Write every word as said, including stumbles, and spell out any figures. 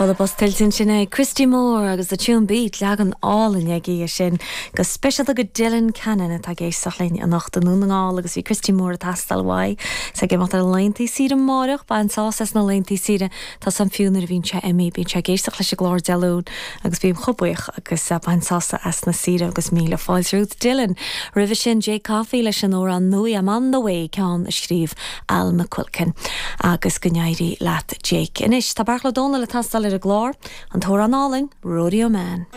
Bualadh bos tuillte sin é Christy Moore agus the Tuam Beat leagan álainn aige sin go speisialta go Dylan Cannon atá ag éisteacht linn anocht i nDún na nGall agus bhí Christy Moore ag teastáil uaidh is ag imeacht ar laethanta saoire amárach bain sásamh as na laethanta saoire tá san fiú nuair a bhíonn sé imithe bíonn sé ag éisteacht leis an gclár Dé Luain agus bím chomh buíoch agus uh, bain sásamh as na saoire agus míle fáilte romhat Dylan. Roimhe sin Jake Coffey leis an amhrán nua I'm on the way ceann a scríobh Al McQuilkin agus go n-éirí leat Jake. Anois tá Beartla Ó Domhnaill ag teastáil ar an gclár an t-amhrán álainn Rodeo Man.